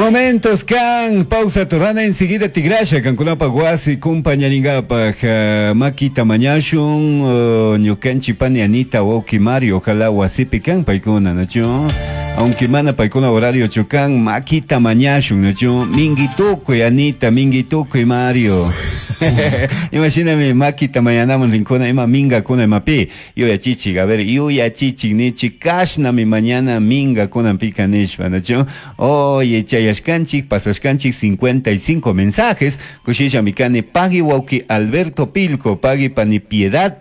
Momentos kan pausa turana enseguida tigrasha kankunapaj wasi kumpañaringapaj makita mañashun ñukanchik pani Anita wawki Mario ojalá wasipi kan paykuna nachu aunque mana paykuna horario chu kan makita mañashun nachu mingi tukuy Anita mingi tukuy Mario imashinami makita mañanaman rinkuna ima mingakuna imapi yuyachichik a ver yuyachichik nichik kashnami mañana mingakunapika nishpa nachu Oye, chayashkanchik, pasashkanchik 55 mensajes. Kushillami kani pagui wawki Alberto Pilco, pagui pani Piedad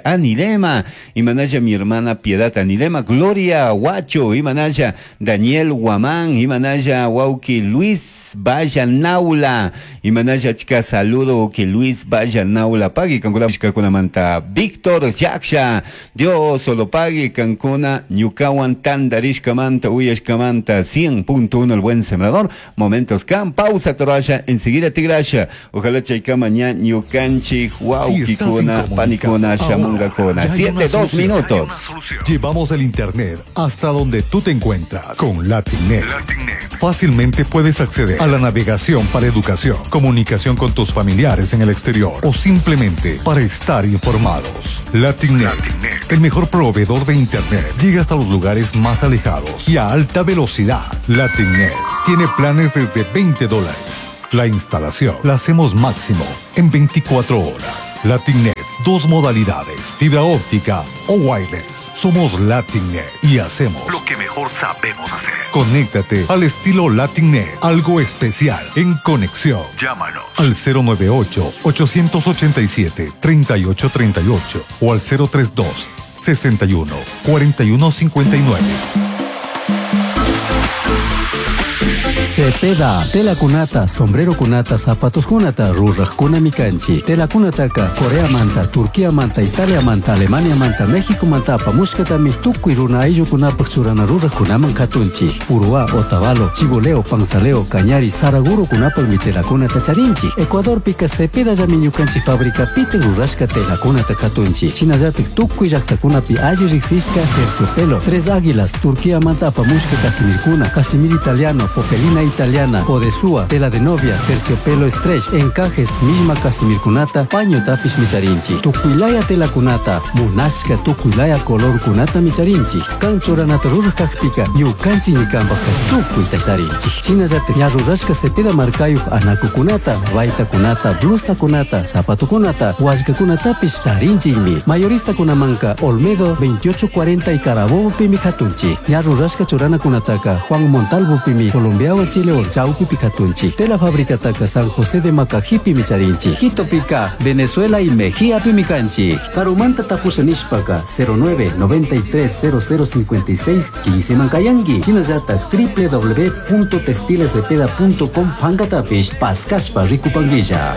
Anilema, imanalla mi hermana Piedad Anilema, Gloria Huacho, imanalla Daniel Guamán, imanalla wawki Luis Vallanaula, imanalla achka saludo wawki Luis Vallanaula, pagui kankunamanta Víctor Yaksha, Dios solo pagui kankuna ñukawan tandarishkamanta uyashkamanta 100.1 el buen sembrador. Momentos kan pausa torasha enseguida tigrasha. Ojalá chaykama ña ñukanchik wawkikuna panikuna shamungakuna. Ya hay una 7 2 solución. minutos. Llevamos el internet hasta donde tú te encuentras con LatinNet. Fácilmente puedes acceder a la navegación para educación, comunicación con tus familiares en el exterior o simplemente para estar informados. LatinNet, el mejor proveedor de internet, llega hasta los lugares más alejados y a alta velocidad. LatinNet tiene planes desde 20 dólares. La instalación la hacemos máximo en 24 horas. LatinNet, dos modalidades, fibra óptica o wireless. Somos LatinNet y hacemos Lo que mejor sabemos hacer. Conéctate al estilo LatinNet, algo especial en conexión. Llámanos. Al 098 887 3838 o al 032 61 41 59. Cepeda, tela kunata, sombrero kunata, zapatos kunata, rurajkuna mikanchi. Tela kunataka, Corea manta, Turquía manta, Italia manta, Alemania manta, México manta, apamushkatami, tukuy runa ayllukunapaj churana rurajkunaman katunchi. Uruá, Otavalo, Chiboleo, Panzaleo, Cañari, Saraguro kunapajmi telakunata charinchi. Ecuadorpika Cepeda llami ñukanchik fábrica pite rurashka telakunata katunchi. Shinallatik tukuy llaktakunapi alli riksishka terciopelo, Tres Águilas, Turquía manta apamushka casimirkuna, casimir italiano, popelina italiana, odesúa, tela de novia, terciopelo stretch, encajes, misma casimirkunata, paño tapish micharinchi. Tukuylaya telakunata, munashka tukuylaya color kunata micharinchi. Kan churanata ruraj kakpika, ñukanchik ñikanpajka tukuyta charinchik. Shinallatak ña rurashka cepeda markayuj anakukunata, baytakunata, blusakunata, zapatokunata, wallkakunatapish charinchikmi. Mayoristakunamanka Olmedo 2840 y Carabobo pimi katunchik. Ña rurashka churanakunataka Juan Montalvo pimi Colombiawan Chilewan chawpipi katunchik. Tela fabricataka San José de Macajipi charinchik. Quito pika Venezuela y Mejía pimi kanchik. Karumanta tapusha nishpaka 09 93 00 56 15 mankayangi. Shinallatak www.textilescepeda.com pankatapish paskashpa rikupanguilla.